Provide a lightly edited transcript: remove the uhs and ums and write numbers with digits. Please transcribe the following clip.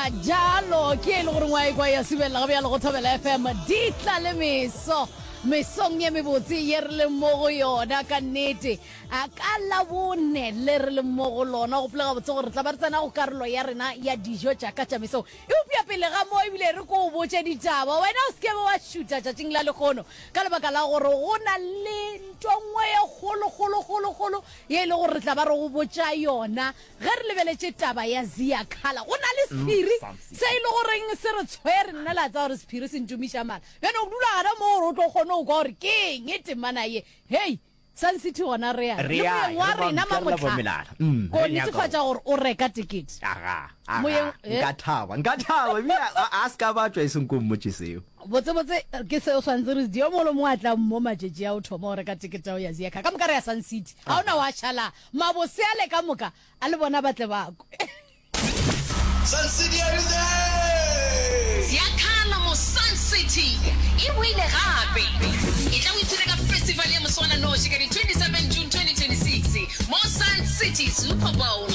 Ka jalo ke e le gore ngwa ekwa ya subelela ga bjalo go Thobela FM di tla le meso mesong ye mebotse ye re leng mo go yona ka nnete a ka labone le re leng mo go lona gopola gabotse gore re tla ba re tsena go karolo ya rena ya dijo tša ka tša mesong eupša pele ga mo ebile re ko o botše ditaba wena o se ke be wa šutha tšatšing la lekgono ka lebaka la gore go na le nto nngwe ye kgolo kgolo kgolo kgolo ye e le gore re tla ba re go botša yona Ge re lebeletše taba ya Zia Khala, go na le sephiri se e le goreng se re tshwere. Nna le a tseba gore sephiri se ntumiša mala. Bjale o dula gona moo gore o tlo kgone go kwa gore ke eng temana ye. Hei, Sun City gona re ya. Re Le ya, moyeng wa re ba rena mpša, re la Mamohla, bomelala. Mm, ko re nyaka netefatša go. gore o reka tekete. Aga, aga, Moyeng, eh? nka thaba, nka thaba, ebile a, a se ka ba tšwa e seng ko mmotše seo. Botsebotse ke se o swanetše re se dire. Yo mongwe le mongwe a tlang mo matšatši a o thoma go reka tekete ya go ya Zia Khala. Ka moka re ya Sun City. Ga o na wa šala. Mabose ale ka moka a le bona ba tle ba kwe. Sun City are you there? Ziakhala mo Sun City e boile gape. Etla o ipshine ka festival ya moswananoši ka di 27 June 2026 mo Sun City Super Bowl.